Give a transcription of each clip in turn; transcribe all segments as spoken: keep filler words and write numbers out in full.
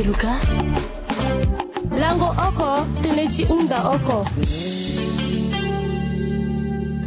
Luka. Lango oko, tënë ti hunda oko.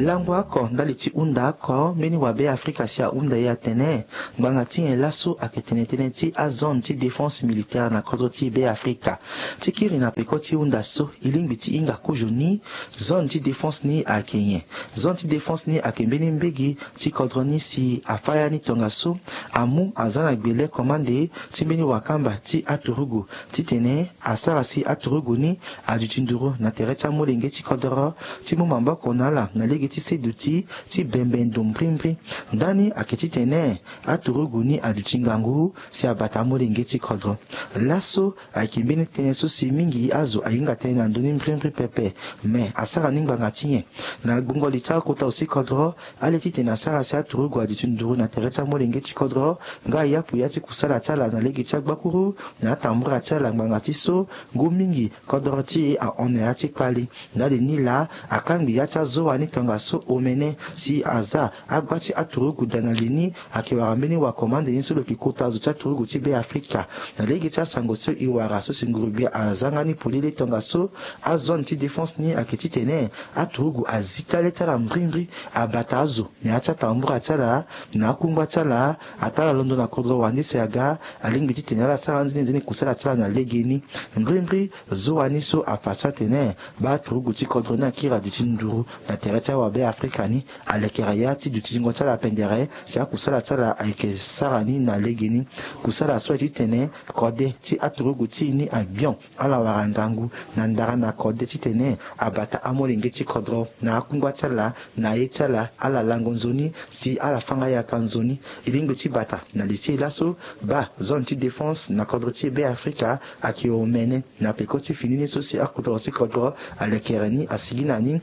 Lango oko ndali ti hunda oko, mbeni wa Be Afrika si ahunda ye atene ngbanga ti nyen laso ayeke tene tënë ti azone ti défense militaire na kodro ti Be Afrika. Ti kiri na peko ti hunda so, e lingbi ti hinga kozo ni. Zone ti défense ni ayeke nyen? Zone ti défense ni ayeke mbeni mbege ti kodro ni si afa ya ni tongaso amu aza na gbele komande ti mbeni wakamba ti aturugu titene asara si aturugu ni aduti nduru na tere ti amolenge ti kodro ti mu maboko na ala na lege ti se duti ti bembe ndo mbrimbri. Ndani ayeke titene aturugu ni aduti ngangu si abata amolenge ti kodro. Laso ayeke mbeni tënë so si mingi azo ahinga tënë na ndö ni mbrimbri pepe. Me asara ni ngbanga ti nyen? Na gbungo li ti akota zo ti kodro, ale titene asara si aturugu aduti nduru na tere ti amolenge ti kodro nga ayapu ya ti kusala ti ala na lege ti agbakuru na atambura ti ala ngbanga ti so ngu mingi kodro ti e ahon na ya ti kpali. Ndali ni laa akangbi ya ti azo wa ni tongaso omene si aza agba ti aturugu daa na li ni. Ayeke wara mbeni wakomande ni so lo yeke kota zo ti aturugu ti Be Afrika. Na lege ti asango so e wara so si nguru-gbia azanga ni polele tongaso, azone ti défense ni ayeke titene aturugu azi tale ti ala mbrimbri, abata azo na ya ti atambura ti ala, na akungba ti ala, ataa ala londo na kodro wande si aga, alingbi titene ala sara nzene nzene kusala ti ala na legeni. Mbrimbri, zo wa ni so afa so atene baa turugu ti kodro ni akiri aduti nduru na tere ti awa Be Afrika ni, alekere ya ti duti zingo ti ala pendere si akusala ti ala ayeke sara ni na legeni. Kusala so aye titene kode ti aturugu ti e ni agbion, ala wara ngangu na ndara na kode titene abata amolenge ti kodro na akungba ti ala, na aye ti ala, ala lango nzoni si ala fanga yaka nzoni. E lingbi ti bata na li ti e laso, baa zone ti défense na kodro ti Be Afrika ayeke omene. Na peko ti fini ni so si akota zo ti kodro alekere ni asigi na ni,